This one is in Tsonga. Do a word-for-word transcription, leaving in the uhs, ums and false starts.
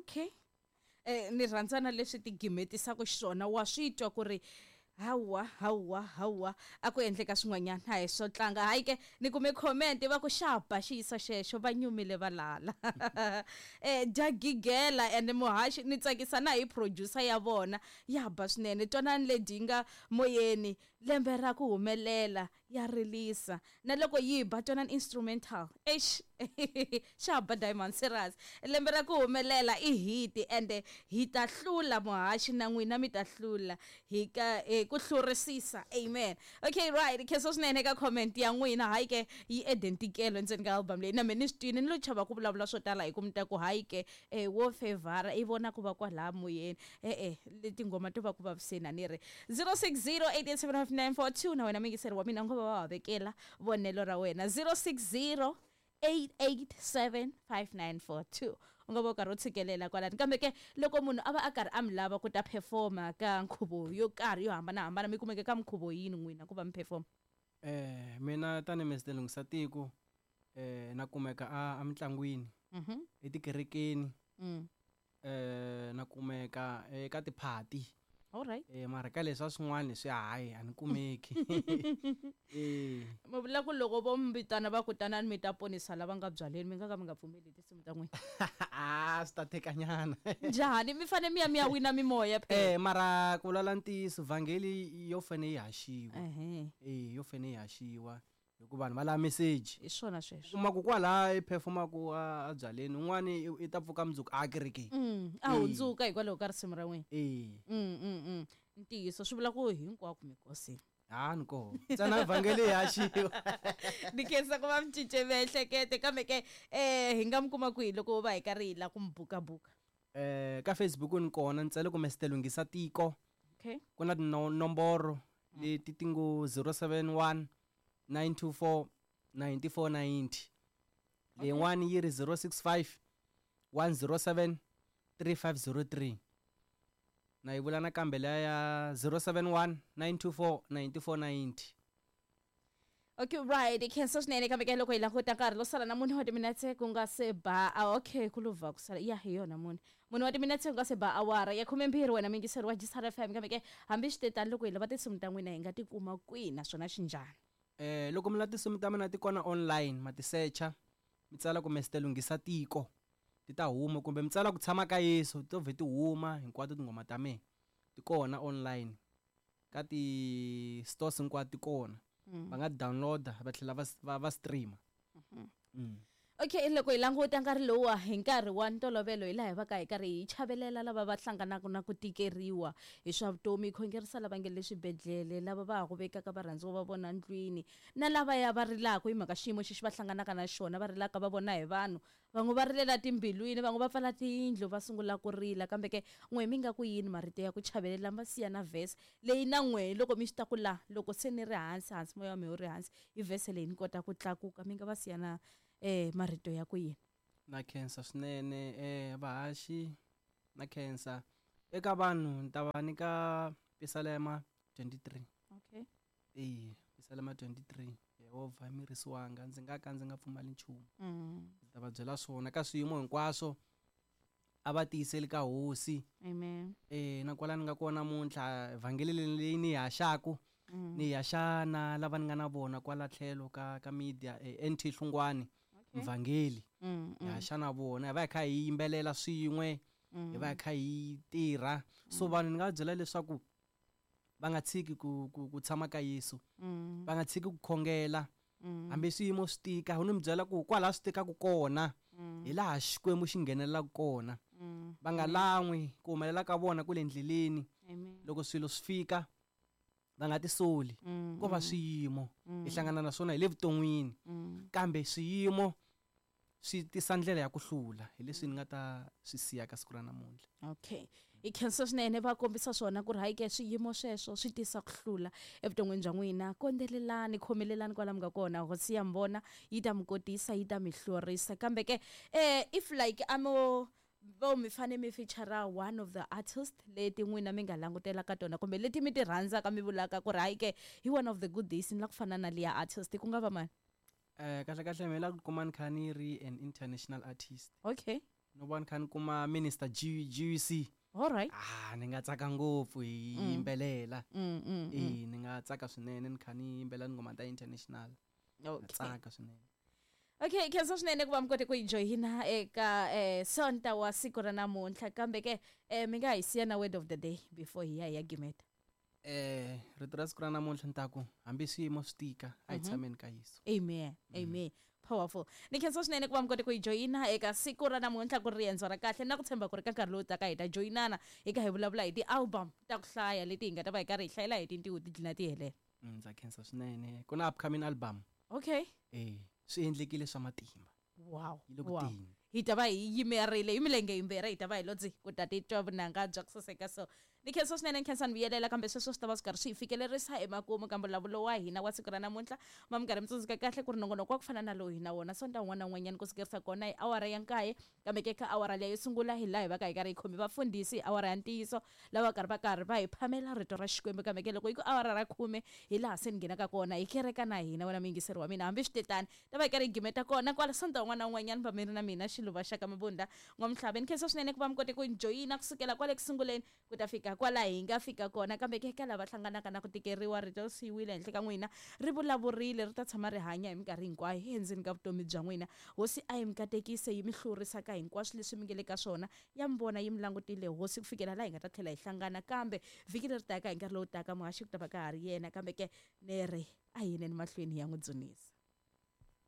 Okay, eh ni rhandza na leswi ti gimetisaka xiswona, wa swi twa ku ri hawa hawa hawa a ku endleka swin'wanyana, a hi swo tlanga. Hayi ke, ni kume comment va ku xapa xiyisa xexo, va nyumile valala. eh dya gigela and muhaxi ni tsakisa na hi producer ya vona, ya ba swinene. Twanani ledi nga moyeni, lembe ra ku humelela ya rilisa na loko yi ba, twanani instrumental. Eish, xa ba Diamond Serious. Lembe ra ku humelela i hit ende hi ta hlula muhaxi na n'wina mi ta hlula hi ka eh, ku hlurisisa. Amen. Okay, right, khensa swinene ka comment ya n'wina. Hayi ke, yi identikelo ndzeni ka album leyi na me ni swi twini, ni lo chava ku vulavula swo tala hi ku mi ta ku hayi ke, eh, wo favor i vona ku va kwalaya moyeni. E-e, leti nghoma to va ku vaviseni. A ni ri zero six zero eight eight seven five nine four two, na wena mingiseri wa mina, ngo va va vekela vonelo ra wena, zero six zero eight eight seven five nine four two. U nga va u karhi u tshikelela kwalani. Kambe ke loko munhu a va a karhi a mi lava ku ta performa ka nkhuvo yo karhi yo hambanahambana, mi kumeke ka minkhuvo yini n'wina ku va mi performa? Eh mina tani Mister Lunghisa Tiko, eh na kumeka a emitlangwini, Mhm. etikerekeni, Mm. eh na kumeka eka tiphati. All right. Eh mara ka leswa swin'wana swi hayi a ni kumeki. Eh mi vula ku loko vo mi vitana va ku tanani mi ta ponisa lava nga byaleni, mi nga ka mi nga pfumeli tinsimu ta n'wina? Ah, swi ta tekanyana. Njhani? Mi fane mi ya mi ya wina mimoya phela. Eh mara ku vulavula ntiyiso, vhangeli yo fane yi haxiwa. Ehe. Eh yo fane yi haxiwa hikuva vanhu va lava message. Hi swona sweswo. Kuma ku kwala i performaku a byaleni, un'wani i ta pfuka mundzuku a kerekeni. Mm, a hundzuka hikwalaho ka risimu ra n'wina. Eh. Mm, mm, mm. Ntiyiso swi vula ku hinkwako mikosini. Ha ni koho. Ntsena vhangeli yi haxiwa. Ni khensa ku va mi cince miehleketo, kambe ke eh hi nga mi kuma kwihi loko va hi karhi hi lava ku mi bukabuka? Eh ka Facebook ni kona, ni tsale ku Mister Lunghisa Tiko. Okay. Ku na tinomboro leti ti ngo zero seven one nine two four ninety four ninety. Leyin'wani yi ri zero six five one zero seven three five zero three. Na yi vula nakambe liya ya zero seven one nine two four ninety four ninety. Okay, right, khensa swinene. Kambe ke loko hi languta nkarhi lo sala na mune wa timinetse ku nga se ba, ah, okay, ku luvha ku sala ya hi yona mune mune wa timinetse ku nga se ba awara ya khumembirhi, wena mingiseri wa G S R F M. Kambe ke hambi swi te tani, loko hi lava tinsimu ta n'wina hi nga ti kuma kwihi naswona xinjhani? Eh loko mi lava tinsimu ta mina ti kona online, ma ti searcha, mi tsala ku Mister Lunghisa Tiko, ti ta huma, kumbe mi tsala ku tshama ka Yesu, ti to vhe ti huma hinkwato tinghoma ta mina. Ti kona online ka ti stores hinkwato ti kona. Va nga downloada va tlhela va, va, va streama. Mm. Okay, loko hi languta nkarhi lowuwa hi nkarhi wa ntolovelo, hi laha hi va ka hi karhi hi chavelela lava va hlanganaka na ku tikeriwa hi swa vutomi, hi khongerisa lava nge le swibedhlele, lava va ha ku vekaka varhandziwa va vona ndlwini, na lavaya va rilaka hi mhaka xiyimo xexi va hlanganaka na xona, va rilaka va vona hi vanhu van'we, va rilela timbilwini, van'we va pfala tiyindlu va sungula ku rila. Kambe ke n'we mi nga ku yini marito ya ku chavelela, mi va siya na verse leyi na n'we loko mi swi ta ku la loko se ni ri hansi hansi, moya wa mina wu ri hansi, hi verse leyi ni kota ku tlakuka, mi nga va siya na eh marito ya ku yini? Na khensa swinene, eh vahaxi, na khensa eka vanhu. Ni ta va nyika Pisalema twenty-three. Okay. Eh Pisalema twenty-three, Yehovha i murisi wanga, ndzi nga ka ndzi nga pfumali nchumu. Mm. Ndzi ta va byela swona ka swiyimo hinkwaswo, a va tiyiseli ka hosi. Amen. Eh na kwala ni nga kona namuntlha, vhangeli leyi ni yi haxaku, Mm. ni yi haxa na lava ni nga na vona kwala tlhelo ka, ka media, eh, N T Hlungwani, Okay. mvhangeli. Mm, Hi mm. haxa na vona, hi va hi kha hi yimbelela swin'we, Mm. hi va hi kha hi tirha. So vanhu ni nga va byela leswaku va nga tshiki ku, ku, ku tshama ka Yesu. Mm. Va nga tshiki ku khongela. Mm. Hambi swiyimo swi tika, u ni mi byela ku kwalaho swi tikaka kona, Mm. hi laha Xikwembu xi nghenelelaka kona. Mm. Va nga lan'wi ku humelela ka vona ku le ndleleni. Amen. Loko swilo swi fika, va nga tisoli. Mm, Ko va mm. swiyimo Mm. hi hlangana na swona hi le vuton'wini. Mm. Kambe swiyimo swi tisa ndlela ya ku hlula, hi leswi ni nga ta swi siya ka siku ra namuntlha. Okay, hi khensa swinene. Va kombisa swona ku ri hayi ke swiyimo sweswo swi tisa ku hlula evuton'wini bya n'wina. Kondelelani, khomelelani kwala mi nga kona, hosi ya mi vona, yi ta mi kotisa, yi ta mi hlurisa. Kambe ke eh if like amo vo mi fane mi feature one of the artist leti n'wina mi nga langutela ka tona kumbe leti mi ti rhandzaka, mi vulaka ku ri hayi ke hi one of the good days ni la ku fana na liya artist, ku nga va mani? Eh, kahle kahle mina la ku kuma ni kha ni ri an international artist. Okay. No va ni kha ni kuma minister G GUC. All right. Ah, ni nga tsaka ngopfu hi Mm. yimbelela. Mm, mm, mm. Eh, ni nga tsaka swinene ni kha ni yimbelela tinghoma ta international. Nga Okay. tsaka swinene. Okay, khensa swinene ku va mi kote ku hi joyina eka eh, sonta wa siku ra namuntlha kambe ke eh, mi nga hi siya na word of the day before hi ya hi ya gimeta. Eh, rito ra siku ra namuntlha ni ta ku hambi swiyimo swi tika a hi Mhm. tshameni ka Yesu. Amen. Amen. Powerful. Ni khensa swinene ku va mi kote ku hi joyina eka siku ra namuntlha ku ri riendzo ra kahle na ku tshemba ku ri ka nkarhi lowu taka hi ta joyinana hi ka hi vulavula hi ti-album ta ku hlaya leti hi nga ta va hi karhi hi hlayela hi tintiho ti dlina ti helela. Mm, Ndza khensa swinene. Ku na upcoming album. Okay. Eh, swi endlekile swa matimba. Wow. Yi le ku Wow. teni. Hi ta va hi yimerile hi milenge yimbirhi hi ta va hi lo dzi ku ta titwa vunanga bya ku saseka so ni khensa swinene ni khensa ni vuyelela kambe sweswo swi ta va swi karhi swi hi fikelerisa emakumu ka mbulavulo wa hina wa siku ra namuntlha ma mi karhi mi tsundzuka kahle ku ri nongonoko wa ku fana na lowu hi na wona sonta wun'wana na wun'wanyana ku sukerisa kona hi awara ya nkaye kambe ke ka awara leyi yo sungula hi laha hi va ka hi karhi hi khomi vafundhisi hi awara ya ntiyiso lava karhi va karhi va hi phamela rito ra xikwembu kambe ke loko yi ku awara ra khume hi laha se ni nghenaka kona hi kereka na hina wena muyingiseri wa mina hambi switetani ta va hi karhi hi gimeta kona kwala sonta wun'wana na wun'wanyana va mi ri na mina xiluva xa ka mabunda n'wamhlava ni khensa swinene ku va mi kote ku joyina kusukela kwale ku sunguleni ku ta fika kwala hi nga fika kona kambe ke ka lava hlanganaka na ku tikeriwa rito ri siyiwile henhla ka n'wina ri vulavurile ri ta tshama ri hanya hi minkarhi hinkwayo endzeni ka vutomi bya n'wina hosi a yi mi katekise yi mi hlurisaka hinkwaswo leswi mi nge le ka swona ya mi vona yi mi langutile hosi ku fikela laha hi nga ta tlhela hi hlangana kambe vhiki leri taka hi nkarhi lowu taka muhaxi ku ta va ka ha ri yena kambe ke ni ri a hi yineni mahlweni hi ya n'wi dzunisa.